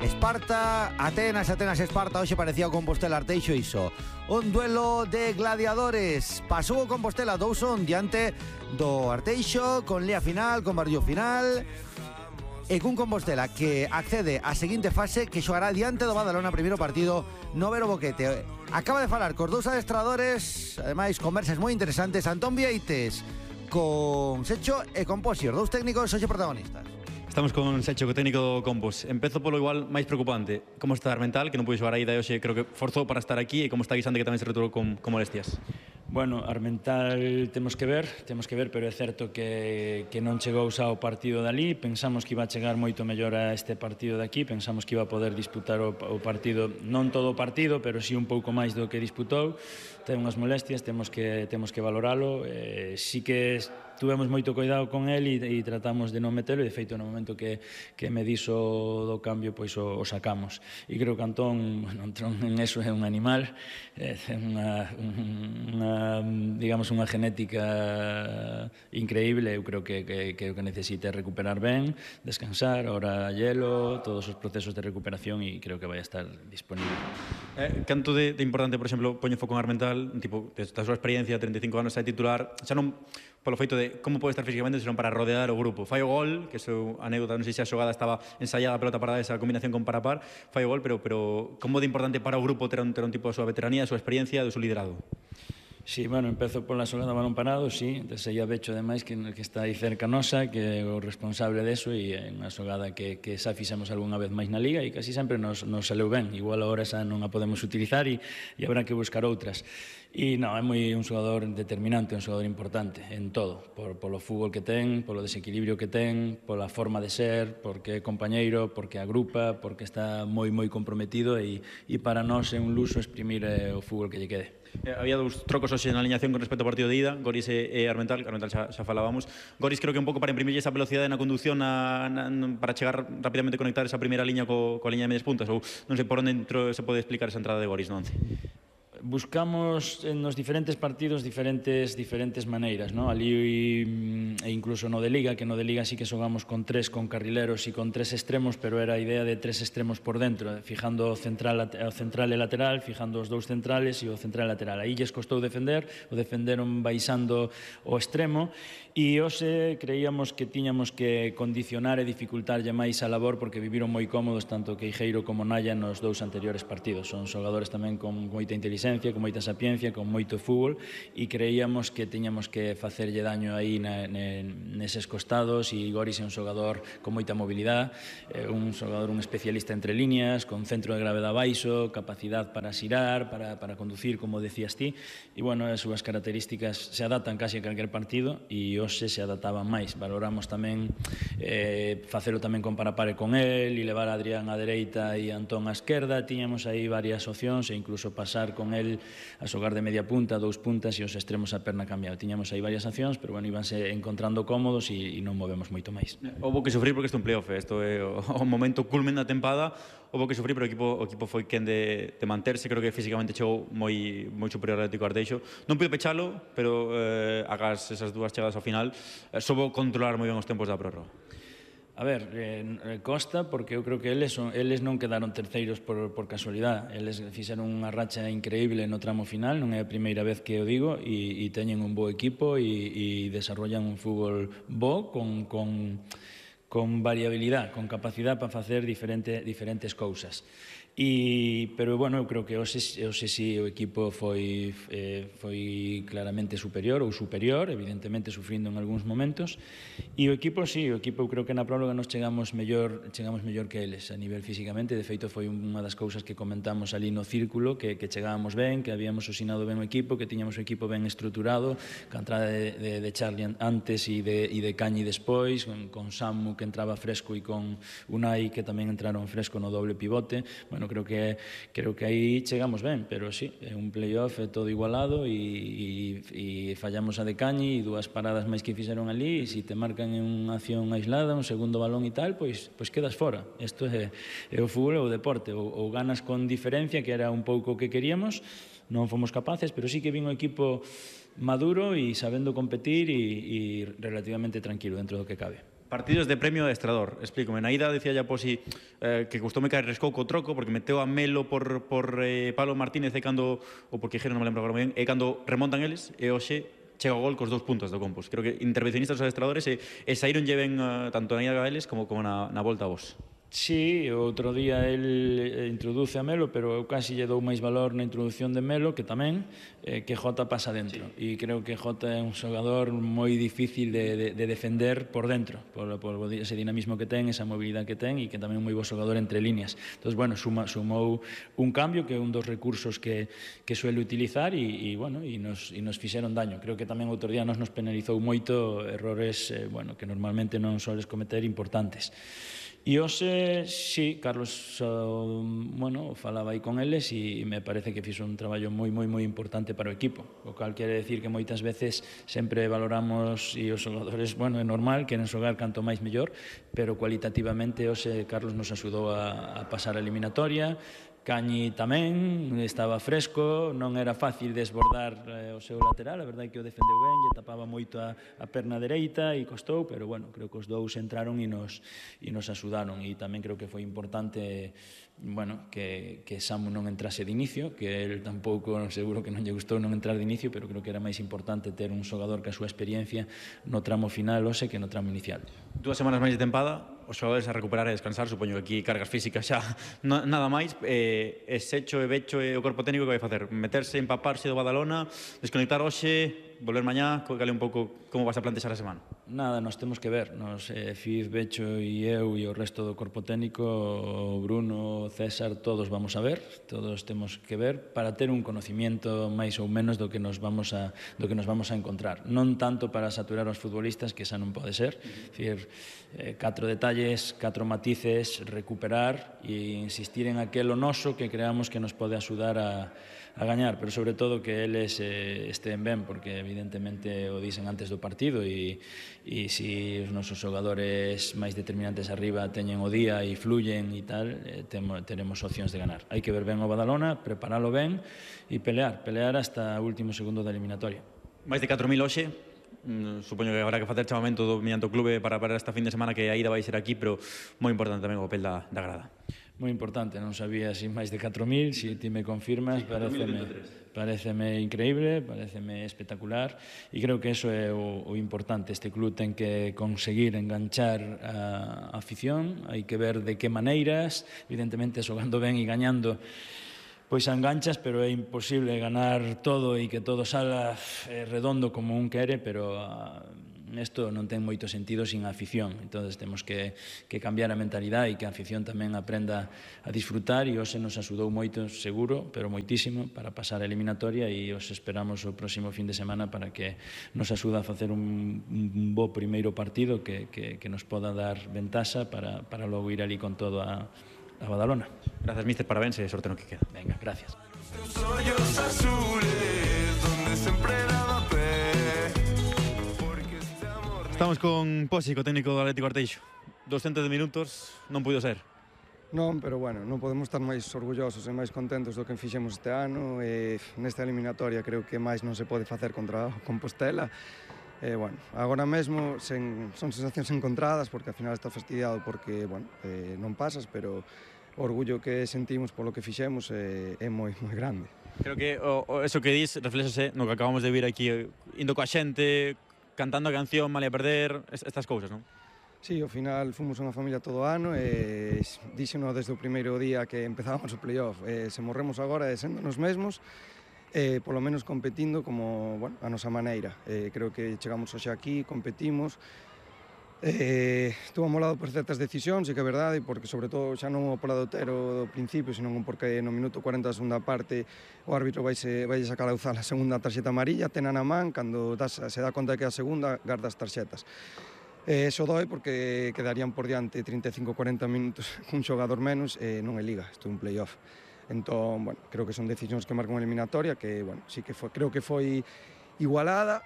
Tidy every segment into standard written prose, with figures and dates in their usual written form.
Esparta, Atenas Esparta. Hoxe parecía o Compostela Arteixo iso. Un duelo de gladiadores. Pasou o Compostela 2-1 diante do Arteixo, con lea final, con barullo final, e cun Compostela que accede á seguinte fase, que xogará diante do Badalona, primeiro partido no Vero Boquete. Acaba de falar cos dous adestradores, ademais conversas moi interesantes, Antón Vieites con Secho e con Posier, dous técnicos hoxe protagonistas. Estamos con Secho, co técnico do Compos. Empezo polo igual máis preocupante. Como está Armental, que non pude xogar aí da hoxe, creo que forzou para estar aquí, e como está Guisante, que tamén se returou con molestias? Bueno, Armental temos que ver, pero é certo que non chegou xa ao partido dali. Pensamos que iba a chegar moito mellor a este partido de aquí, pensamos que iba a poder disputar o partido, non todo o partido, pero sí un pouco máis do que disputou. Ten unhas molestias, temos que valoralo. Sí que tuvemos moito cuidado con el e tratamos de non metelo, e de feito no momento que me dixo do cambio, pois o sacamos. E creo que Antón en eso é un animal, ten unha genética increíble. Eu creo que o que necesita é recuperar ben, descansar, ahora hielo, todos os procesos de recuperación, e creo que vai a estar disponible. Canto de importante, por exemplo, poño foco en Armental, tipo, esta súa experiencia, 35 anos, é titular, xa non polo feito de como pode estar físicamente, senón para rodear o grupo. Fai o gol, que é a anécdota, non sei se a xogada estaba ensaiada, a pelota parada, esa combinación con Parapar, fai o gol, pero como de importante para o grupo ter un tipo da súa veteranía, da súa experiencia, do seu liderado? Sí, bueno, empezo pola xogada balón parado, sí, desde aí a Becho, ademais, que está aí cerca nosa, que é o responsable deso, e é unha xogada que xa fixemos algunha vez máis na Liga, e casi sempre nos saleu ben. Igual agora xa non a podemos utilizar, e habrá que buscar outras. E non, é un xogador determinante, un xogador importante en todo, polo fútbol que ten, polo desequilibrio que ten, pola forma de ser, porque é compañeiro, porque agrupa, porque está moi comprometido, e para nós é un luxo exprimir o fútbol que lle quede. Había dous trocos hoxe na alineación con respecto ao partido de ida, Goris e Armental. Armental xa falábamos. Goris creo que un pouco para imprimir esa velocidade na conducción para chegar rapidamente, conectar esa primeira liña coa liña de medias puntas, ou non sei por onde se pode explicar esa entrada de Goris no once. Buscamos nos diferentes partidos diferentes maneiras, ¿no? Ali e incluso no de Liga, que no de Liga sí que xogamos con carrileros e con 3 extremos, pero era a idea de 3 extremos por dentro, fijando o central e lateral, fijando os dous centrales e o central e lateral. Aí lles costou defender, o defenderon baixando o extremo, e hoxe creíamos que tiñamos que condicionar e dificultarlle máis a labor, porque viviron moi cómodos tanto Queijeiro como Naya nos dous anteriores partidos. Son xogadores tamén con moita inteligencia, con moita sapiencia, con moito fútbol, e creíamos que tiñamos que facerlle daño aí neses costados. E Goris é un xogador con moita mobilidade, un especialista entre líneas, con centro de gravedade baixo, capacidade para xirar, para conducir, como decías ti, e bueno, as súas características se adaptan casi a calquer partido, e hoxe se adaptaban máis. Valoramos tamén facelo tamén con Parapare con el, e levar a Adrián á dereita e Antón á esquerda. Tiñamos aí varias opcións, e incluso pasar con el a xogar de media punta, 2 puntas, e os extremos a perna cambiado. Tiñamos aí varias accións, pero bueno, íbanse encontrando cómodos, e non movemos moito máis. Houbo que sufrir porque isto é un playoff, isto é o momento culmen da tempada. Houbo que sufrir, pero o equipo foi quen de manterse. Creo que físicamente chegou moi superior ao Atlético Arteixo. Non puido pechalo, pero agás esas dúas chegadas ao final, soubo controlar moi ben os tempos da prórroga. A ver, costa, porque eu creo que eles non quedaron terceiros por casualidade. Eles fixeron unha racha increíble no tramo final, non é a primeira vez que o digo, e teñen un bo equipo, e desarrollan un fútbol bo, con variabilidade, con capacidade para facer diferentes cousas. Pero bueno, eu creo que hoxe sí o equipo foi claramente superior, evidentemente sufrindo en algúns momentos, e o equipo eu creo que na próloga nos chegamos mellor que eles a nivel físicamente. De feito, foi unha das cousas que comentamos ali no círculo, que chegábamos ben, que habíamos osinado ben o equipo, que tiñamos o equipo ben estruturado, que a entrada de Charlie antes e de Cañi despois, con Samu que entraba fresco, e con Unai que tamén entraron fresco no doble pivote. Bueno, creo que aí chegamos ben, pero sí, é un playoff, é todo igualado, e fallamos a de Cañi e dúas paradas máis que fixeron ali, e se te marcan en unha acción aislada, un segundo balón e tal, pois quedas fora. Isto é o fútbol, é o deporte, ou ganas con diferencia, que era un pouco o que queríamos, non fomos capaces, pero sí que vin o equipo maduro e sabendo competir, e relativamente tranquilo dentro do que cabe. Partidos de premio adestrador, explícome. Na ida decía ya Posi que custoume caer rescou co troco porque meteu a Melo por Pablo Martínez e cando, ou por Quijero, non me lembro agora moi ben, e cando remontan eles, e hoxe chega o gol cos 2 puntos do Compos. Creo que intervencionistas os adestradores e saíron lleven tanto na ida a eles como na volta a vos. Sí, outro día el introduce a Melo, pero eu casi lle dou máis valor na introducción de Melo, que tamén, que Jota pasa dentro. E creo que Jota é un xogador moi difícil de defender por dentro, por ese dinamismo que ten, esa mobilidade que ten, e que tamén é un moi bo xogador entre líneas. Entón, bueno, sumou un cambio, que é un dos recursos que suele utilizar, e nos fixeron daño. Creo que tamén outro día nos penalizou moito errores que normalmente non soles cometer importantes. E hoxe, sí, Carlos, falaba aí con eles e me parece que fixo un traballo moi importante para o equipo, o cal quere decir que moitas veces sempre valoramos e os xogadores, é normal, queren xogar canto máis mellor, pero cualitativamente hoxe Carlos nos axudou a pasar a eliminatoria. Cañi tamén estaba fresco, non era fácil desbordar o seu lateral, a verdade é que o defendeu ben, lle tapaba moito a perna dereita e costou, pero creo que os dous entraron e nos axudaron, e tamén creo que foi importante que Samu non entrase de inicio, que el tampouco, seguro que non lle gustou non entrar de inicio, pero creo que era máis importante ter un xogador que a súa experiencia no tramo final hoxe que no tramo inicial. 2 semanas máis de tempada, os xogadores a recuperar e descansar, supoño que aquí cargas físicas xa nada máis, e Secho e Becho e o corpo técnico que vai facer? Meterse, empaparse do Badalona, desconectar hoxe, volver mañá, cale un pouco como vas a plantexar a semana? Nada, nos temos que ver, Fiz, Becho e eu e o resto do corpo técnico, o Bruno, César, todos vamos a ver, todos temos que ver para ter un conocimiento máis ou menos do que nos vamos a encontrar. Non tanto para saturar os futbolistas, que esa non pode ser, dicir, 4 detalles, 4 matices, recuperar e insistir en aquelo noso que creamos que nos pode axudar a gañar, pero sobre todo que eles estén ben, porque evidentemente o dicen antes do partido e se os nosos xogadores máis determinantes arriba teñen o día e fluyen e tal, teremos opcións de ganar. Hai que ver ben o Badalona, preparalo ben e pelear hasta o último segundo da eliminatoria. Máis de 4.000 hoxe, supoño que habrá que facer chamamento mediante o clube para esta fin de semana, que a ida vai ser aquí, pero moi importante tamén o papel da grada. Moi importante, non sabía si máis de 4.000, si ti me confirmas, pareceme increíble, pareceme espectacular, e creo que eso é o importante. Este club ten que conseguir enganchar a afición, hai que ver de que maneiras, evidentemente xogando ben e gañando pois enganchas, pero é imposible ganar todo e que todo salga redondo como un quere, pero isto non ten moito sentido sin a afición. Entón, temos que cambiar a mentalidade e que a afición tamén aprenda a disfrutar, e hoxe nos axudou moito, seguro, pero moitísimo, para pasar a eliminatoria, e os esperamos o próximo fin de semana para que nos axude a facer un bo primeiro partido que nos poda dar ventaxa para logo ir ali con todo a Badalona. Gracias, míster, parabéns e sorte no que queda. Venga, gracias. Estamos con Posi, co técnico do Atlético Arteixo. 200 minutos, non puido ser. Non, pero non podemos estar máis orgullosos e máis contentos do que fixemos este ano, e nesta eliminatoria creo que máis non se pode facer contra Compostela. Agora mesmo son sensacións encontradas, porque ao final está fastidiado porque non pasas, pero o orgullo que sentimos polo que fixemos é moi grande. Creo que eso que dis reflexase no que acabamos de vir aquí, indo coa xente, cantando a canción, mal a perder, estas cousas, non? Sí, ao final fomos unha familia todo ano e díxeno desde o primeiro día que empezábamos o playoff. Se morremos agora sendo nos mesmos, polo menos competindo como a nosa maneira. Creo que chegamos hoxe aquí, competimos. Estuvo amolado por certas decisións, e que é verdade, porque sobre todo xa non o poladotero do principio, senón porque no minuto 40 da segunda parte o árbitro vai sacar a usar a segunda tarxeta amarilla, tena na man, cando se dá conta de que é a segunda, garda as tarxetas. Eso doi porque quedarían por diante 35-40 minutos cun xogador menos, e non é liga, isto é un playoff. Entón, creo que son decisións que marcan unha eliminatoria que, sí que creo que foi igualada,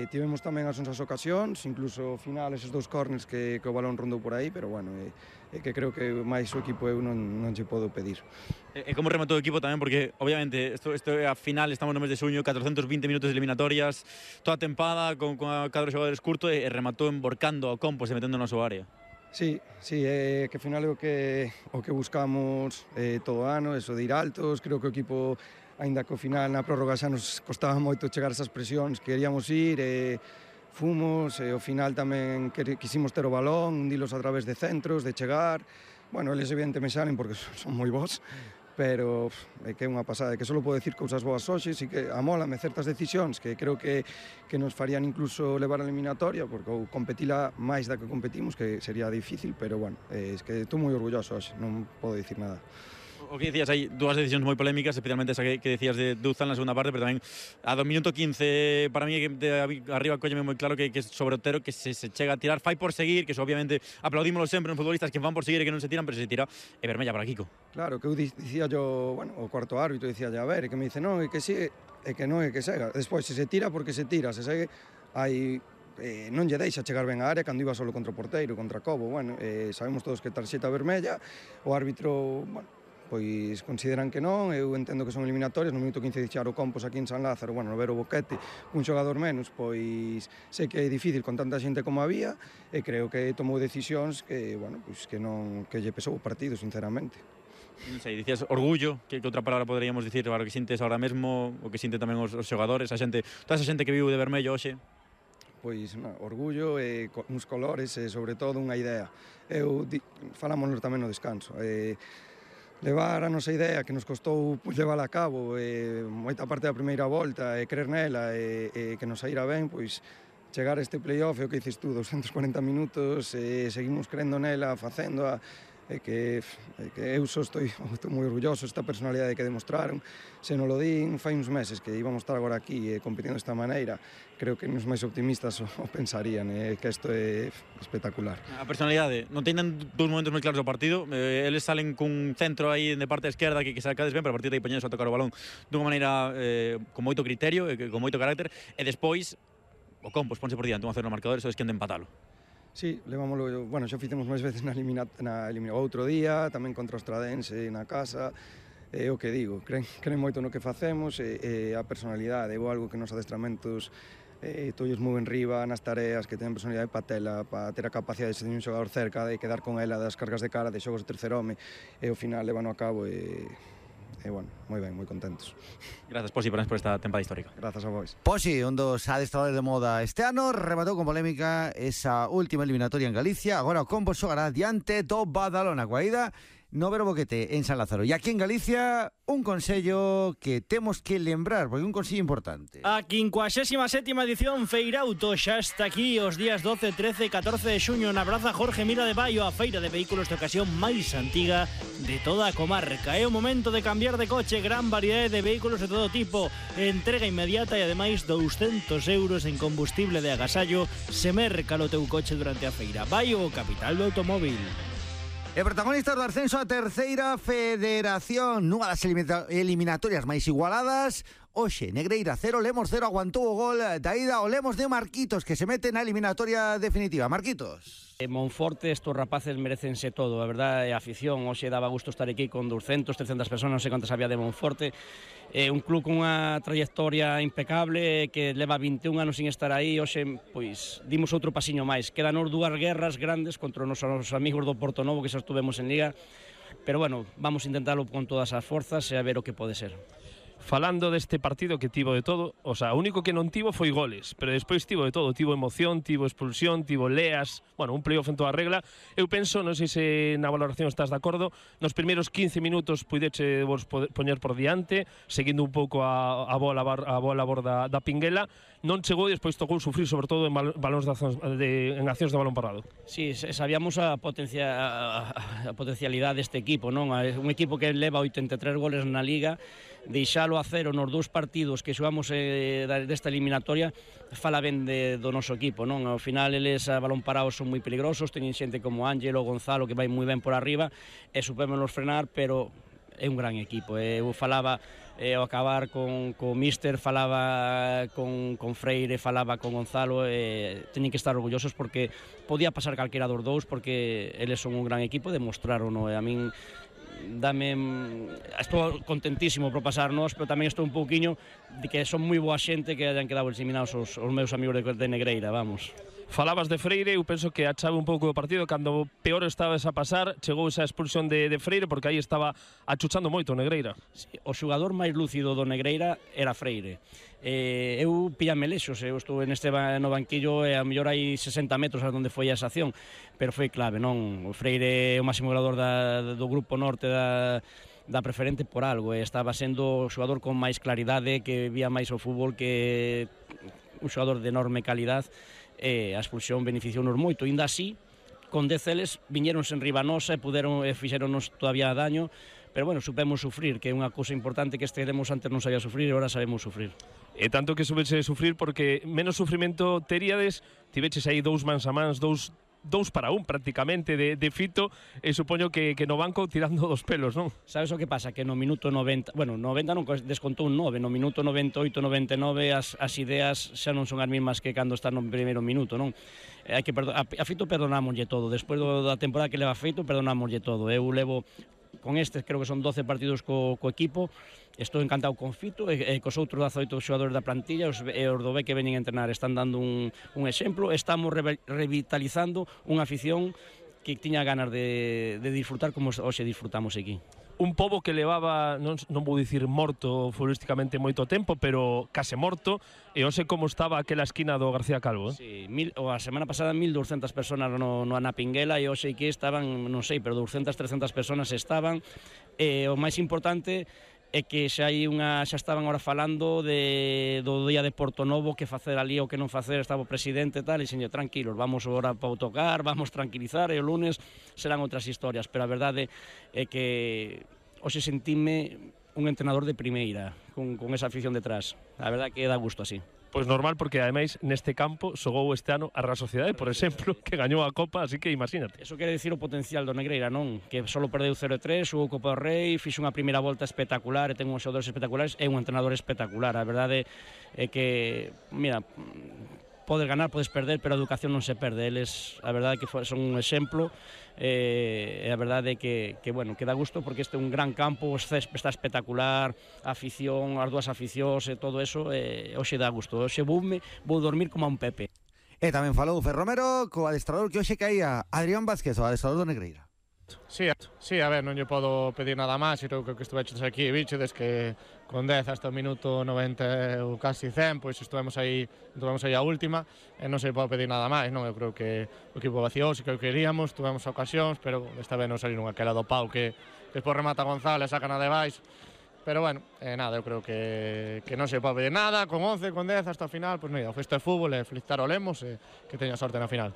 tivemos tamén as nosas ocasións, incluso ao final eses 2 corners que o balón rondou por aí, pero bueno, que creo que máis o equipo eu non lle podo pedir. E como rematou o equipo tamén, porque obviamente isto é a final, estamos no mes de xuño, 420 minutos de eliminatorias, toda a tempada con a cadro de xogadores curto e rematou emborcando ao Compos e metendo na súa área. Sí, que ao final é o que buscamos todo o ano, eso de ir altos, creo que o equipo, aínda que ao final na prórroga xa nos costaba moito chegar a esas presións, queríamos ir, fomos, ao final tamén quisimos ter o balón, hundilos a través de centros, de chegar, bueno, eles evidentemente salen porque son moi bons, pero é que é unha pasada, que só podo decir cousas boas hoxe, e que amólame certas decisións que creo que nos farían incluso levar a eliminatoria, porque ou competila máis da que competimos, que sería difícil, pero bueno, é que estou moi orgulloso hoxe, non podo dicir nada. O que decías, hai dúas decisións moi polémicas, especialmente esa que decías de Duzan na segunda parte, pero tamén a do minuto 15, para mí, de arriba colleme moi claro que sobre Otero, que se chega a tirar, fai por seguir, que eso obviamente aplaudímoslo sempre nos futbolistas que van por seguir e que non se tiran, pero se tira, e vermella para Kiko. Claro, que eu dicía yo, bueno, o cuarto árbitro dicía a ver, e que me dice, non, é que sigue, é que non é que sega. Despois, se tira, porque se tira, se segue, hai non lle deixa chegar ben a área cando iba solo contra o porteiro, contra Cobo, bueno, sabemos todos que tarxeta vermella, o árbitro, bueno, pois consideran que non, eu entendo que son eliminatorias, no minuto 15 dixar o Compos aquí en San Lázaro, bueno, no ver o Boquete, un xogador menos, pois sei que é difícil con tanta xente como había, e creo que tomou decisións que, bueno, pois que non, que lle pesou o partido, sinceramente. Non sei, dicías orgullo, que outra palabra poderíamos dicir para o que sintes ahora mesmo, o que sinten tamén os xogadores, a xente, toda esa xente que viu de vermello hoxe? Pois, orgullo e uns colores e, sobre todo, unha idea. Falámonos tamén no descanso, levar a nosa idea que nos costou levala a cabo, moita parte da primeira volta, e crer nela, e que nos saíra ben, pois chegar a este playoff, é o que dices tú, 240 minutos, seguimos crendo nela, facéndoa, que eu só estou moi orgulloso esta personalidade que demostraron. Se non lo din fai uns meses que íbamos estar agora aquí competindo desta maneira, creo que nos máis optimistas o pensarían, que isto é espectacular. A personalidade, non teñen dous momentos moi claros do partido, eles salen cun centro aí de parte esquerda que sacades ben, pero a partir de aí poñenos a tocar o balón dunha maneira con moito criterio, con moito carácter, e despois o Compos ponse por diante, 1-0 no marcador, e só desquen de empatalo. Sí, levámoslo, bueno, xa fizemos máis veces na outro día, tamén contra o Ostradense na casa, o que digo, creen moito no que facemos, e a personalidade, é algo que nos adestramentos todos moi en riba nas tareas, que ten personalidade para ter a capacidade de ser un xogador cerca, de quedar con ela das cargas de cara, de xogos de terceiro home, e ao final levano a cabo, bueno, moi ben, moi contentos. Grazas, Posi, por esta tempada histórica. Grazas a vos. Posi, un dos adestradores de moda este ano, rematou con polémica esa última eliminatoria en Galicia. Agora o Compos xogará diante do Badalona, coa ida no Vero Boquete en San Lázaro. E aquí en Galicia, un consello que temos que lembrar, porque é un consello importante. A 57ª edición Feirauto xa está aquí os días 12, 13 e 14 de xuño na Praza Jorge Mira de Baio, a feira de vehículos de ocasión máis antiga de toda a comarca. É o momento de cambiar de coche, gran variedade de vehículos de todo tipo, entrega inmediata e ademais 200 euros en combustible de agasallo se merca o teu coche durante a feira. Baio, capital do automóvil. E protagonistas do ascenso a terceira federación, nunha das eliminatorias máis igualadas. Oxe, Negreira 0, Lemos 0, aguantou o gol da ida o Lemos de Marquitos, que se mete na eliminatoria definitiva. Marquitos. Monforte, estos rapaces merecense todo, a verdade, a afición, hoxe daba gusto estar aquí con 200, 300 personas, non sei cantas había de Monforte, un club con unha trayectoria impecable, que leva 21 anos sin estar aí, hoxe, pois, dimos outro pasiño máis, quedan os dúas guerras grandes contra os nosos amigos do Porto Novo, que xa estuvemos en Liga, pero bueno, vamos a intentarlo con todas as forzas e a ver o que pode ser. Falando deste partido que tivo de todo, o sea, o único que non tivo foi goles, pero despois tivo de todo, tivo emoción, tivo expulsión, tivo leas, bueno, un playoff en toda regla. Eu penso, non sei se na valoración estás de acordo, nos primeiros 15 minutos puideche vos poñer por diante, seguindo un pouco a bola a borda da Pinguela, non chegou e despois tocou sufrir, sobre todo en accións de balón parado. Sí, sabíamos a potencialidade deste equipo, non? Un equipo que leva 83 goles na Liga, deixalo a cero nos dous partidos que xogamos desta eliminatoria fala ben do noso equipo, non? Ao final eles a balón parado son moi peligrosos, teñen xente como Ángelo, Gonzalo que vai moi ben por arriba e supémonos frenar, pero é un gran equipo. Eu falaba ao acabar con Míster, falaba con Freire, falaba con Gonzalo, teñen que estar orgullosos porque podía pasar calquera dos dous, porque eles son un gran equipo, demostraron, a min estou contentísimo por pasarnos, pero tamén estou un pouquiño de que son moi boa xente que hayan quedado eliminados os meus amigos de Negreira, vamos. Falabas de Freire, eu penso que a chave un pouco do partido, cando peor estabas a pasar, chegou esa expulsión de Freire, porque aí estaba achuchando moito o Negreira. Sí, o xogador máis lúcido do Negreira era Freire. Eu pillame lexos, eu estou no banquillo e a mellor hai 60 metros a onde foi esa acción, pero foi clave, non? O Freire é o máximo goleador do grupo norte da preferente por algo, estaba sendo o xogador con máis claridade, que vía máis o fútbol, que un xogador de enorme calidad, a expulsión beneficiounos moito, ainda así con 10 eles viñeronse en riba nosa e fixeronos todavía daño, pero bueno, supemos sufrir, que é unha cousa importante que estivemos antes non sabía sufrir e agora sabemos sufrir. E tanto que subese sufrir porque menos sufrimento teríades, tiveches aí dous mans a mans, dous para un prácticamente de Fito, e supoño que no banco tirando dos pelos, non? Sabes o que pasa? Que no minuto 90, bueno, 90 non, descontou un 9, no minuto 98, 99 as ideas xa non son as mismas que cando está no primeiro minuto, non? Hai que a Fito perdonámoslle todo, despois da temporada que leva feito, perdonámoslle todo. Eu levo con estes, creo que son 12 partidos co equipo, estou encantado con Fito e cos outros 18 xogadores da plantilla, os do B que veñen a entrenar están dando un exemplo, estamos revitalizando unha afición que tiña ganas de disfrutar como hoxe disfrutamos aquí. Un pobo que levaba, non vou dicir morto futbolísticamente moito tempo, pero case morto, e hoxe como estaba aquela esquina do García Calvo. Sí, a semana pasada 1.200 personas no Anapinguela e hoxe que estaban, non sei, pero 200, 300 personas estaban, e o máis importante é que xa estaban ahora falando do día de Porto Novo, que facer ali ou que non facer, estaba o presidente e tal, e señor, tranquilos, vamos agora para autocar, vamos tranquilizar, e o lunes serán outras historias, pero a verdade é que hoxe sentime un entrenador de primeira, con esa afición detrás, a verdade que dá gusto así. Pois normal, porque ademais neste campo xogou este ano a Real Sociedade, por exemplo, que gañou a Copa, así que imagínate. Eso quere dicir o potencial do Negreira, non? Que só perdeu 0-3, xogou Copa do Rei, fixo unha primeira volta espectacular, e ten uns xogadores espectaculares, e un entrenador espectacular. A verdade é que, mira, podes ganar, podes perder, pero a educación non se perde. Eles, a verdade é que son un exemplo, e a verdade é que bueno, que dá gusto, porque este é un gran campo, o césped está espectacular, a afición, as dúas aficións e todo eso, hoxe dá gusto. Hoxe vou dormir como a un Pepe. E tamén falou Fer Romero co adestrador que hoxe caía, Adrián Vázquez, o adestrador do Negreira. Sí, a ver, non lle podo pedir nada máis, e creo que estuveches aquí, bichedes que con 10 hasta o minuto 90 ou casi 100, pois estuvemos aí a última, e non se pode pedir nada máis, non? Eu creo que o equipo vaciouse, que o queríamos, tuvemos ocasións, pero esta vez non saliron aquela do pau que despois remata González, sacan a debaixo, pero bueno, nada, eu creo que non se pode pedir nada, con 11, con 10 hasta o final, pois mira, o feste de fútbol e felicitar o Lemos e que teña sorte na final.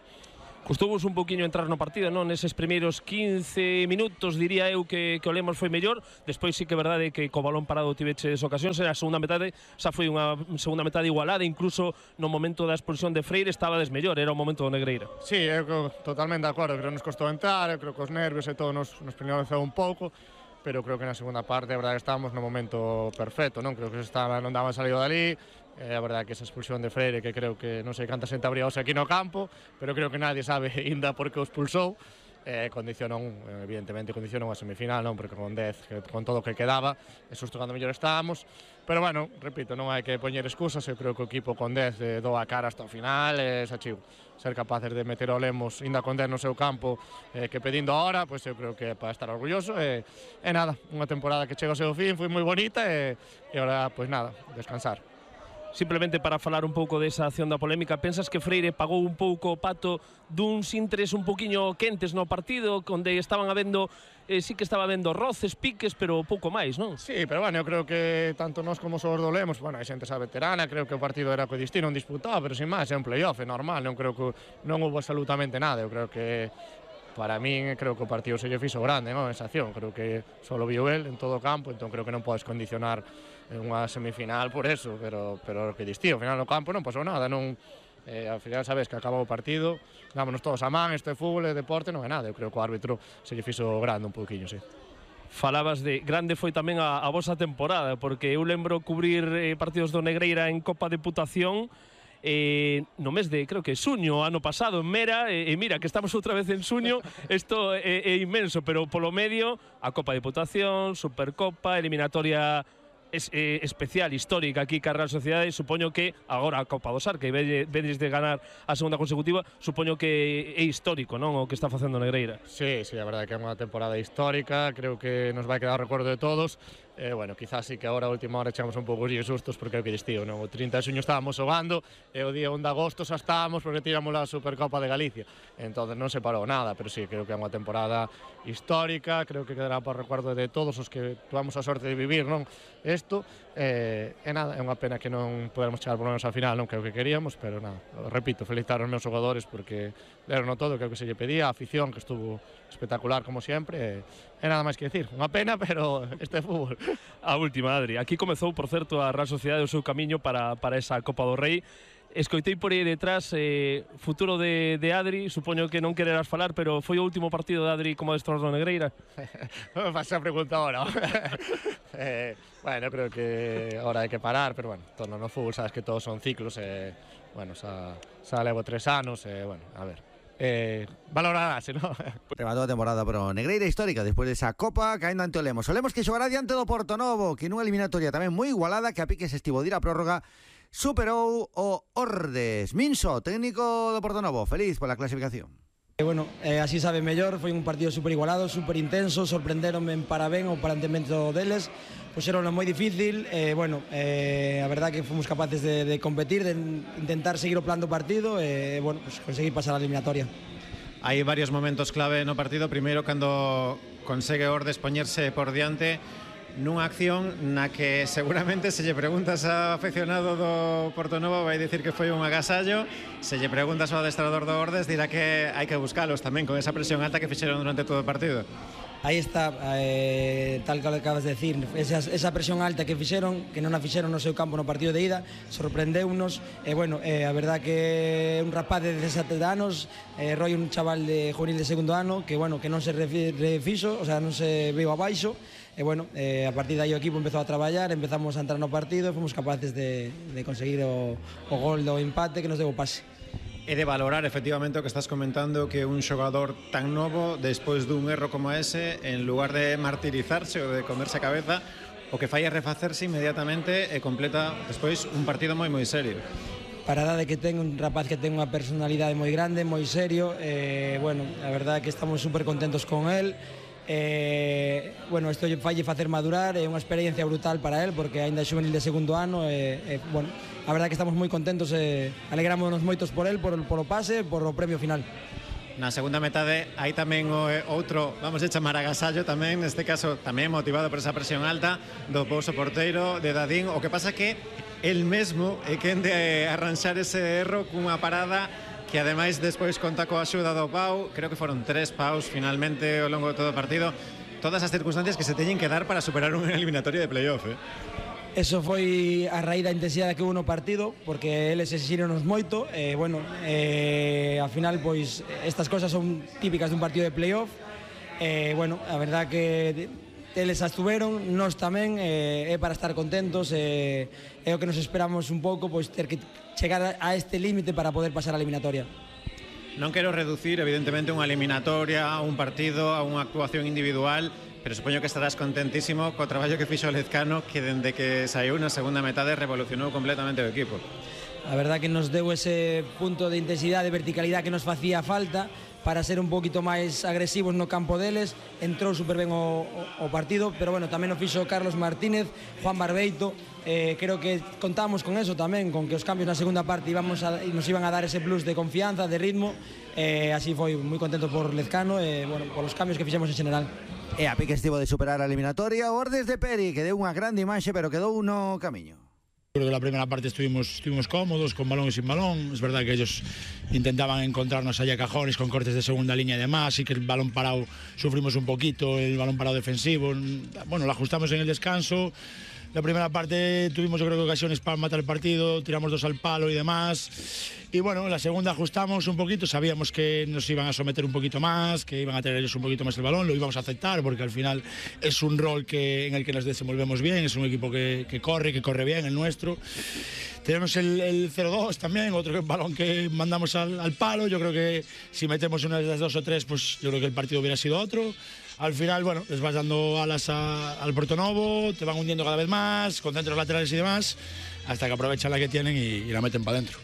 Custouvos un poquinho entrar no partido, non? Neses primeiros 15 minutos, diría eu que o Lemos foi mellor. Despois sí que é verdade que co balón parado tiveches ocasións. A segunda metade xa foi unha segunda metade igualada, incluso no momento da expulsión de Freire estaba desmellor, era o momento do Negreira. Sí, eu totalmente de acordo, creo que nos costou entrar, eu creo que os nervios e todo nos penalizou un pouco, pero creo que na segunda parte a verdade que estábamos no momento perfecto, non? Creo que non daban salido dali. A verdade que esa expulsión de Freire, que creo que non sei canta xente habría hoxe aquí no campo, pero creo que nadie sabe ainda por que o expulsou, evidentemente condicionou a semifinal, non? Porque con 10, con todo o que quedaba, e susto cando mellor estábamos, pero bueno, repito, non hai que poñer excusas, eu creo que o equipo con 10 dou a cara hasta o final, e xa chivo, ser capaces de meter o Lemos ainda con 10 no seu campo, que pedindo a hora, pois eu creo que é para estar orgulloso, e nada, unha temporada que chega ao seu fin, foi moi bonita, e agora, pois nada, descansar. Simplemente para falar un pouco desa acción da polémica, pensas que Freire pagou un pouco o pato duns intres un poquinho quentes no partido, onde estaban habendo, sí que estaba habendo roces, piques, pero pouco máis, non? Sí, pero bueno, eu creo que tanto nós como os do Lemos, bueno, hai xente xa veterana, creo que o partido era co destino, non disputado, pero sin máis, é un playoff, é normal, non creo que non houve absolutamente nada, eu creo que para min, creo que o partido se lle fixo grande, non? Esa acción, creo que só lo viu el en todo o campo, entón creo que non podes condicionar unha semifinal por eso, pero o que distí, ao final no campo non pasou nada, non, ao final sabes que acabou o partido, dámonos todos a man, este fútbol e deporte non é nada, eu creo que o árbitro se lle fixo grande un pouquiño, sí. falabas de grande foi tamén a vosa temporada, porque eu lembro cubrir partidos do Negreira en Copa Deputación no mes de, creo que xuño, ano pasado, en Mera, e mira, que estamos outra vez en xuño, isto é inmenso, pero polo medio, a Copa Deputación, Supercopa, eliminatoria especial, histórica aquí ca Real Sociedade. Supoño que agora a Copa do Sar, que vedes de ganar a segunda consecutiva, supoño que é histórico, non, o que está facendo Negreira. Sí, a verdade que é unha temporada histórica, creo que nos vai quedar o recuerdo de todos. Bueno, quizás sí que agora a última hora echamos un pouco de sustos, porque é o que distío, non? O 30 de xuño estábamos xogando e o día 1 de agosto xa estábamos porque tiramos a Supercopa de Galicia. Entón non se parou nada, pero sí, creo que é unha temporada histórica, creo que quedará para o recuerdo de todos os que tuvamos a sorte de vivir, non? Isto, nada, é unha pena que non podemos chegar por lo menos ao final, non que é o que queríamos, pero nada, repito, felicitar aos meus xogadores porque deron todo, que é o que se lle pedía, a afición que estuvo espectacular como sempre, e nada máis que decir, unha pena, pero este é fútbol. A última, Adri, aquí comezou, por certo, a Real Sociedade o seu camiño para esa Copa do Rei. Escoitei por aí detrás futuro de Adri, supoño que non quererás falar, pero foi o último partido de Adri como adestrador do Negreira? Non me faz a pregunta ahora. Bueno, creo que ahora hai que parar, pero bueno, torno no fútbol, sabes que todos son ciclos, bueno, xa levo 3 anos, bueno, a ver. Valorarase, non? Rematou a temporada pro Negreira histórica despois desa Copa caendo ante o Lemos. O Lemos que xogará diante do Portonovo, que nunha eliminatoria tamén moi igualada, que a piques estivo de ir a prórroga, superou o Ordes. Minso, técnico do Portonovo, feliz pola clasificación. Bueno, así sabe mellor, foi un partido super igualado, super intenso, sorprenderonme para ben o planteamento deles, puxeron moi difícil, bueno, a verdad que fomos capaces de competir, de intentar seguir o plan do partido e, bueno, pues conseguir pasar a eliminatoria. Hai varios momentos clave no partido, primeiro cando consegue Ordes poñerse por diante nunha acción na que seguramente se lle preguntas ao afeccionado do Portonovo vai dicir que foi un agasallo, se lle preguntas ao adestrador do Ordes dirá que hai que buscalos tamén con esa presión alta que fixeron durante todo o partido. Aí está, tal que acabas de decir, esa presión alta que fixeron, que non a fixeron no seu campo no partido de ida, sorprendeunos, e bueno, a verdad que un rapaz de 17 anos, Roy un chaval de juvenil de segundo ano, que bueno, que non se refixo, o sea, non se veo abaixo, e bueno, a partir de aí o equipo empezou a traballar, empezamos a entrar no partido e fomos capaces de conseguir o gol do empate que nos deu o pase. É de valorar efectivamente o que estás comentando, que un xogador tan novo, despois dun erro como ese, en lugar de martirizarse ou de comerse a cabeza, o que fai é refacerse inmediatamente e completa despois un partido moi serio. Para a edade que ten, un rapaz que ten unha personalidade moi grande, moi serio, bueno, a verdade é que estamos super contentos con él. Bueno, isto falle facer madurar, é unha experiencia brutal para él porque aínda é xuvenil de segundo ano bueno, a verdade é que estamos moi contentos e alegrámonos moitos por él, por o pase, por o premio final. Na segunda metade hai tamén outro, vamos a chamar agasallo tamén, neste caso tamén motivado por esa presión alta do Pouso porteiro de Dadín, o que pasa que el mesmo é quen de arranxar ese erro cunha parada que ademais despois conta coa axuda do Pau, creo que foron 3 paus finalmente ao longo de todo o partido, todas as circunstancias que se teñen que dar para superar unha eliminatoria de playoff. Eso foi a raíz da intensidade que hubo no partido, porque eles exixironos moito, bueno, ao final, pois, estas cosas son típicas dun partido de playoff, bueno, a verdad que eles estuveron, nós tamén, é para estar contentos, é o que nos esperamos un pouco, pois ter que chegar a este límite para poder pasar a eliminatoria. Non quero reducir, evidentemente, unha eliminatoria, a un partido, a unha actuación individual, pero supoño que estarás contentísimo co traballo que fixo o Lezcano, que dende que saiu na segunda metade revolucionou completamente o equipo. A verdad que nos deu ese punto de intensidade, de verticalidade que nos facía falta para ser un poquito máis agresivos no campo deles. Entrou super ben o partido, pero bueno, tamén o fixo Carlos Martínez, Juan Barbeito, creo que contábamos con eso tamén, con que os cambios na segunda parte nos iban a dar ese plus de confianza, de ritmo, así foi, moi contento por Lezcano e bueno, por os cambios que fixemos en general. E a pique estivo de superar a eliminatoria o Ordes de Peri, que deu unha grande imaxe, pero quedou no camiño. Creo que la primera parte estuvimos cómodos, con balón y sin balón. Es verdad que ellos intentaban encontrarnos allá cajones con cortes de segunda línea y demás, y que el balón parado sufrimos un poquito, el balón parado defensivo. Bueno, lo ajustamos en el descanso, La primera parte tuvimos yo creo que ocasiones para matar el partido, tiramos 2 al palo y demás. Y bueno, en la segunda ajustamos un poquito, sabíamos que nos iban a someter un poquito más, que iban a tener ellos un poquito más el balón, lo íbamos a aceptar porque al final es un rol en el que nos desenvolvemos bien, es un equipo que corre bien, el nuestro. Tenemos el 0-2 también, otro balón que mandamos al palo. Yo creo que si metemos una de las 2 o 3, pues yo creo que el partido hubiera sido otro. Al final, bueno, les vas dando alas al Portonovo, te van hundiendo cada vez más, con centros laterales y demás, hasta que aprovechan la que tienen y la meten para adentro.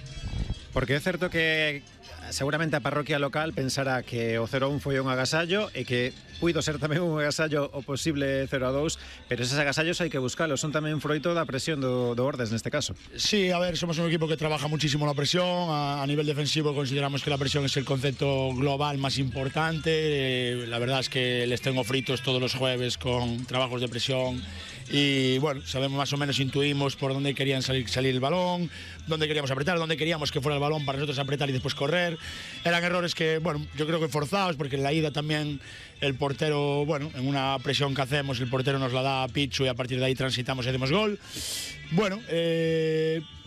Porque é certo que seguramente a parroquia local pensará que o 0-1 foi un agasallo e que puido ser tamén un agasallo o posible 0-2, pero esos agasallos hai que buscalos, son tamén froito da presión do Ordes neste caso. Sí, a ver, somos un equipo que trabaja muchísimo la presión, a nivel defensivo consideramos que la presión es el concepto global más importante, la verdad es que les tengo fritos todos los jueves con trabajos de presión y bueno, sabemos más o menos, intuimos por dónde querían salir el balón, dónde queríamos apretar, dónde queríamos que fuera el balón para nosotros apretar y después correr. Eran errores que, bueno, yo creo que forzados, porque en la ida también el portero, bueno, en una presión que hacemos, el portero nos la da a Pichu y a partir de ahí transitamos y hacemos gol. Bueno,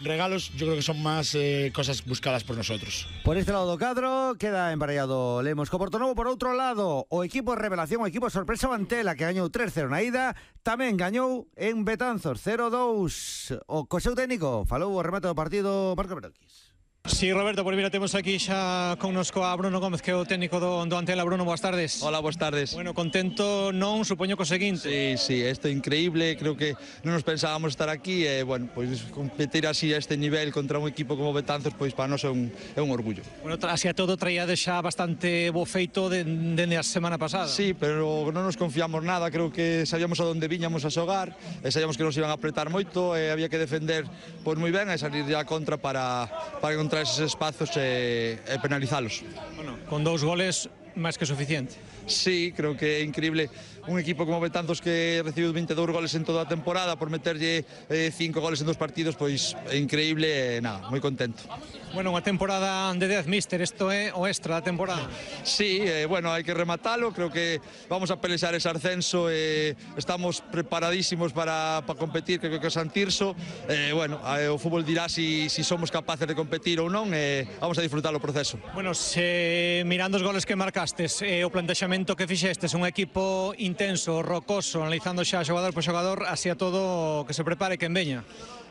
regalos yo creo que son más cosas buscadas por nosotros. Por este lado do cadro queda emparellado Lemos co Portonovo. Por outro lado, o equipo revelación, o equipo sorpresa Mantela, que gañou 3-0 na ida, tamén gañou en Betanzos 0-2. O co seu técnico falou o remate do partido Marco Beroquis. Sí, Roberto, por mira, temos aquí xa connosco a Bruno Gómez, que é o técnico do Antela. Bruno, boas tardes. Hola, boas tardes. Bueno, contento non, supoño co seguinte. Sí, isto é increíble, creo que non nos pensábamos estar aquí e, bueno, pois competir así a este nivel contra un equipo como Betanzos, pois para nós é un orgullo. Bueno, así a todo traíade xa bastante bo feito dende a semana pasada. Sí, pero non nos confiamos nada, creo que sabíamos a onde viñamos a xogar, e sabíamos que nos iban a apretar moito e había que defender pois moi ben e salir ya contra para encontrar esos espazos e penalizalos. Bueno, con 2 goles máis que suficiente. Sí, creo que é increíble un equipo como Betanzos que recibiu 22 goles en toda a temporada por meterlle 5 goles en 2 partidos, pois é increíble e nada, moi contento. Bueno, unha temporada de 10, míster, isto é o extra da temporada. Sí, bueno, hai que rematalo, creo que vamos a pelexar ese ascenso e estamos preparadísimos para competir, creo que o Santirso, bueno, o fútbol dirá si somos capaces de competir ou non e vamos a disfrutar o proceso. Bueno, mirando os goles que marcastes, o plantexamento que fixestes, un equipo intenso, rocoso, analizando xa xogador por xogador, así a todo que se prepare que veña.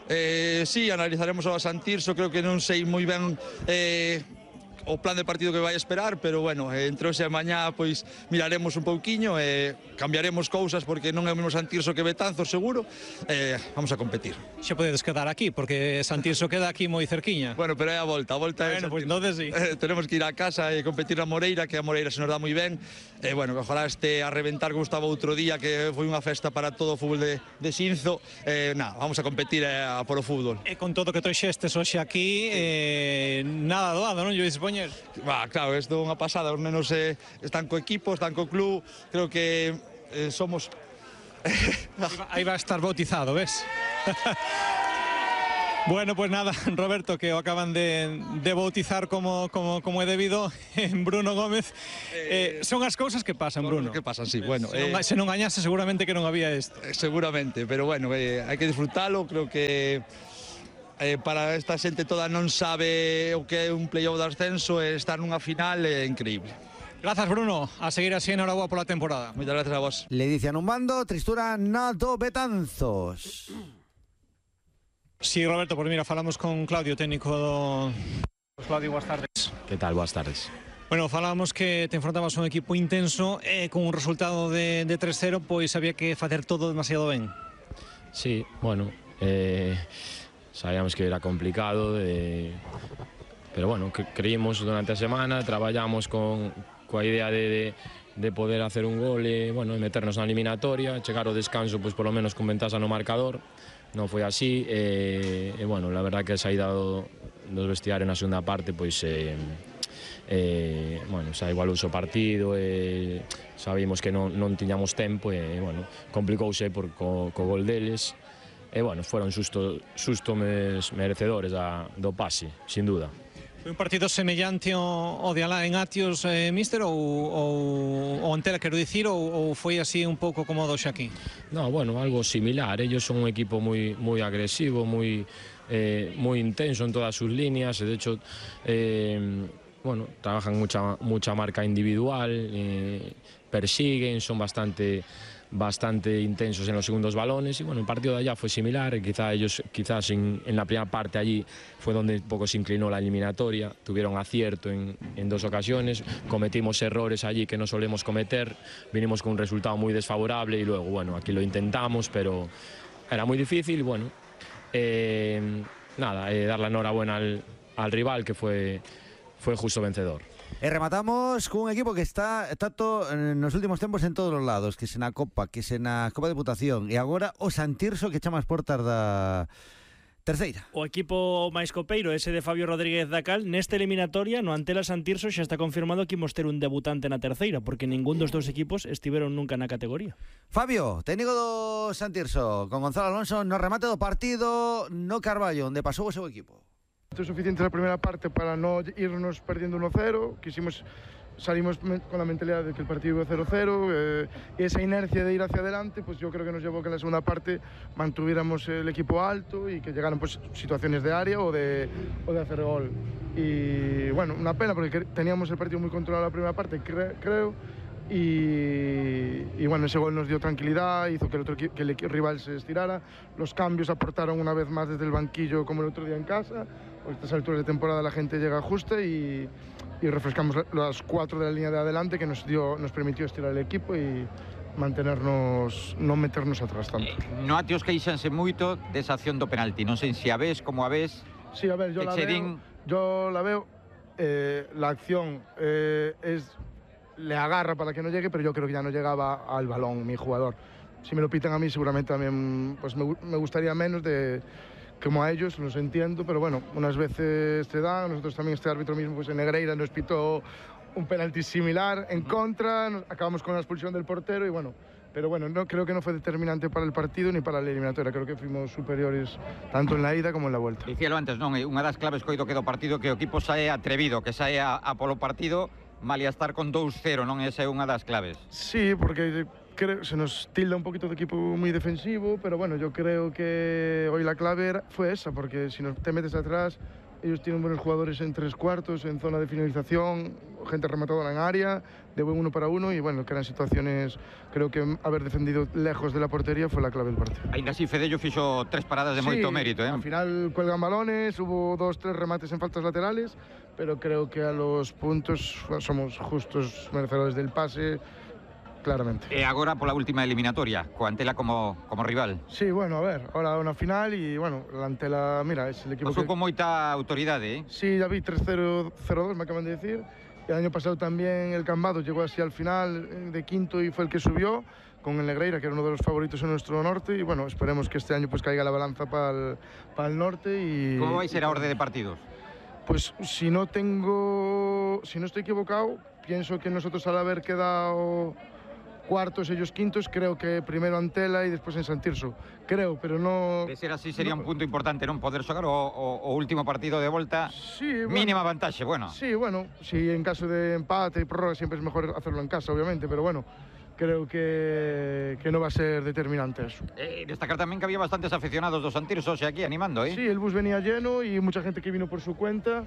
Sí, analizaremos o Santirso, creo que non sei moi ben o plan de partido que vai esperar, pero bueno, entre hoxe e mañá pois miraremos un pouquiño e cambiaremos cousas porque non é o mesmo Santirso que Betanzos seguro, vamos a competir. Xa podedes quedar aquí porque Santirso queda aquí moi cerquiña. Bueno, pero é a volta é bueno, pois entonces sí. Tenemos que ir a casa e competir na Moreira, que a Moreira se nos dá moi ben. Bueno, ojalá este a reventar como estaba outro día, que foi unha festa para todo o fútbol de Xinzo. Nada, vamos a competir a por o fútbol. E con todo que trouxestes hoxe aquí, nada doado, non? Yo dispoñer. Claro, isto é unha pasada, os nenos están co equipo, están co club, creo que somos... Aí va a estar bautizado, ves? Bueno, pues nada, Roberto, que o acaban de bautizar como é debido en Bruno Gómez. Son as cousas que pasan, Bruno. Que pasan, sí, bueno. Se non gañase seguramente que non había isto. Seguramente, pero bueno, hai que disfrutalo, creo que... para esta xente toda non sabe o que é un playoff de ascenso e estar nunha final é increíble. Grazas, Bruno, a seguir así, enhoraboa pola temporada. Moitas gracias a vos. Le dicen un bando, tristura na do Betanzos. Sí, Roberto, por mira, falamos con Claudio, técnico do... Claudio, boas tardes. Que tal, boas tardes. Bueno, falábamos que te enfrontabas a un equipo intenso e con un resultado de 3-0, pois había que facer todo demasiado ben. Sí, bueno, sabíamos que era complicado, pero bueno, creímos durante a semana, traballamos coa idea de poder hacer un gol e, bueno, meternos na eliminatoria, chegar ao descanso pois polo menos con ventaxa no marcador. Non foi así e bueno, la verdad que a saída dos vestiarios na segunda parte pois bueno, xa igualouse o partido e sabíamos que non tiñamos tempo e bueno, complicouse co gol deles. E, bueno, foron sustos merecedores do pase, sin duda. Foi un partido semellante ao de alá en Atios, míster, ou Antela, quero dicir, ou foi así un pouco como o do Xaquín? No, bueno, algo similar. Ellos son un equipo muy agresivo, muy intenso en todas sus líneas. De hecho, bueno, trabajan mucha marca individual, persiguen, son bastante intensos en los segundos balones y bueno, el partido de allá fue similar, quizás en la primera parte allí fue donde un poco se inclinó la eliminatoria, tuvieron acierto en 2 ocasiones, cometimos errores allí que no solemos cometer, vinimos con un resultado muy desfavorable y luego bueno, aquí lo intentamos, pero era muy difícil y bueno, dar la enhorabuena al rival que fue justo vencedor. Rematamos cun equipo que está nos últimos tempos en todos os lados, que se na Copa, que se na Copa de Deputación e agora o Santirso que chama as portas da terceira. O equipo máis copeiro, ese de Fabio Rodríguez da Cal, nesta eliminatoria no Antela Santirso xa está confirmado que imos ter un debutante na terceira, porque ningún dos dous equipos estiveron nunca na categoría. Fabio, técnico do Santirso, con Gonzalo Alonso no remate do partido no Carballo, onde pasou o seu equipo. Es suficiente la primera parte para no irnos perdiendo 1-0, salimos con la mentalidad de que el partido iba 0-0, y esa inercia de ir hacia adelante, pues yo creo que nos llevó que en la segunda parte mantuviéramos el equipo alto y que llegaran pues situaciones de área o de hacer gol. Y bueno, una pena porque teníamos el partido muy controlado la primera parte, creo, y bueno, ese gol nos dio tranquilidad, hizo que el rival se estirara, los cambios aportaron una vez más desde el banquillo como el otro día en casa. A estas alturas de temporada la gente llega justa y refrescamos las 4 de la línea de adelante que nos permitió estirar el equipo y mantenernos, no meternos atrás tanto. No Atios queixanse moito desa acción do penalti, non sei se a ves, como a ves. Sí, a ver, yo la veo, la acción le agarra para que no llegue, pero yo creo que ya no llegaba al balón mi jugador. Si me lo pitan a mí seguramente también pues me gustaría menos como a ellos, los entiendo, pero bueno, unas veces te dan, nosotros también este árbitro mismo pues en Negreira nos pitó un penalti similar en contra, acabamos con la expulsión del portero y bueno, pero bueno, creo que no fue determinante para el partido ni para la eliminatoria, creo que fuimos superiores tanto en la ida como en la vuelta. Dicíalo antes, non, unha das claves coido que do partido que o equipo sae atrevido, que sae a polo partido, mal a estar con 2-0, non? Esa é unha das claves. Sí, porque se nos tilda un poquito de equipo muy defensivo, pero bueno, yo creo que hoy la clave fue esa, porque si te metes atrás, ellos tienen buenos jugadores en 3 cuartos, en zona de finalización, gente rematadora en área, de buen 1 para 1 y bueno, que eran situaciones, creo que haber defendido lejos de la portería fue la clave del partido. Ainda así Fedello fixo 3 paradas de moito mérito, al final cuelgan balones, hubo 2-3 remates en faltas laterales, pero creo que a los puntos somos justos merecedores del pase, claramente. E agora pola última eliminatoria, co Antela como rival. Sí, bueno, a ver, ahora una final y bueno, la Antela, mira, es el equipo Pasou con moita autoridade, Sí, ya vi 3-0, 0-2, me acaban de decir. El año pasado también el Cambados llegó así al final de quinto y fue el que subió con el Negreira, que era uno de los favoritos en nuestro norte y bueno, esperemos que este año pues caiga la balanza para el norte y... ¿Cómo vais a ser a orden de partidos? Pues si no estoy equivocado, pienso que nosotros al haber quedado cuartos, ellos quintos, creo que primero Antela y después en Santirso. Creo, pero no... De ser así sería un punto importante, non? Poder xogar o último partido de volta, sí, bueno, mínima vantaxe, bueno. Sí, bueno, si en caso de empate y prórroga siempre es mejor hacerlo en casa, obviamente, pero bueno, creo que no va a ser determinante eso. Destacar también que había bastantes aficionados dos Santirso aquí animando, ¿eh? Sí, el bus venía lleno y mucha gente que vino por su cuenta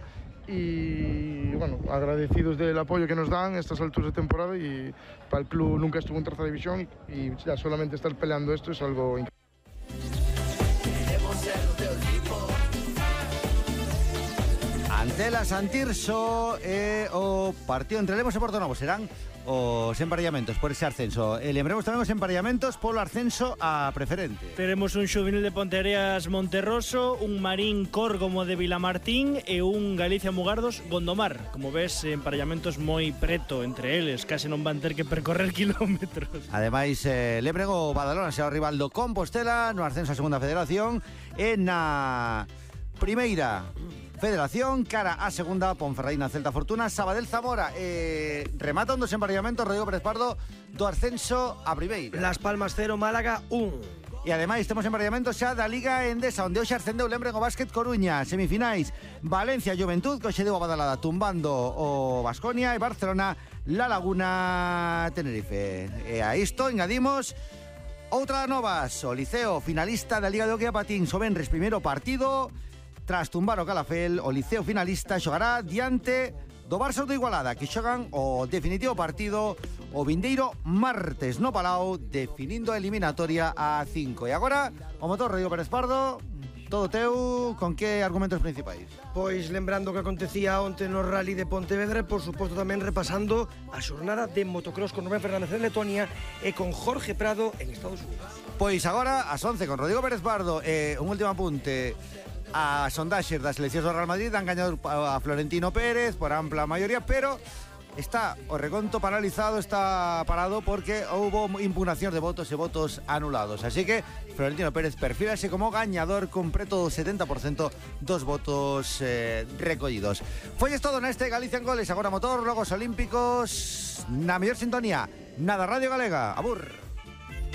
y bueno, agradecidos del apoyo que nos dan a estas alturas de temporada y para el club nunca estuvo en tercera división y ya solamente estar peleando esto es algo increíble. Antela Santirso o partido entre Lemos e Portonovo serán os emparellamentos por ese ascenso. Lembremos tamén os emparellamentos polo ascenso a preferente. Teremos un xuvenil de Ponteareas Monterroso, un Marín Córgomo de Vilamartín e un Galicia Mugardos Gondomar. Como ves, emparellamentos moi preto entre eles, case non van ter que percorrer kilómetros. Ademais, lembren o Badalona será o rival do Compostela no ascenso a segunda federación e na primeira Federación, cara a segunda, Ponferradina, Celta Fortuna, Sabadell Zamora. Remata un dos emparellamentos, Rodrigo Pérez Pardo, do ascenso a primeira. Las Palmas 0, Málaga 1. E ademais temos embarallamento xa da Liga Endesa, onde hoxe ascendeu Lembren o Básquet Coruña. Semifinais, Valencia Juventud, que hoxe deu a badalada tumbando o Baskonia, e Barcelona La Laguna Tenerife. E a isto engadimos outra novas, o Liceo finalista da Liga de Hockey a Patins, o venres primeiro partido, tras tumbar o Calafel, o Liceo finalista xogará diante do Barça do Igualada, que xogan o definitivo partido o vindeiro martes no Palau, definindo a eliminatoria a 5. E agora, o motor Rodrigo Pérez Pardo, todo teu, con que argumentos principais? Pois lembrando que acontecía onte no Rally de Pontevedra, e por suposto tamén repasando a xornada de motocross con Rubén Fernández en Letonia e con Jorge Prado en Estados Unidos. Pois agora, ás 11, con Rodrigo Pérez Pardo, un último apunte. A sondaxes das seleccións do Real Madrid han gañado a Florentino Pérez por ampla maioría, pero está o reconto paralizado, está parado porque houbo impugnación de votos e votos anulados. Así que Florentino Pérez perfílase como gañador con preto do 70% dos votos recollidos. Foi todo neste Galicia en Goles. Agora motor, logos olímpicos, na mellor sintonía, nada Radio Galega. Abur.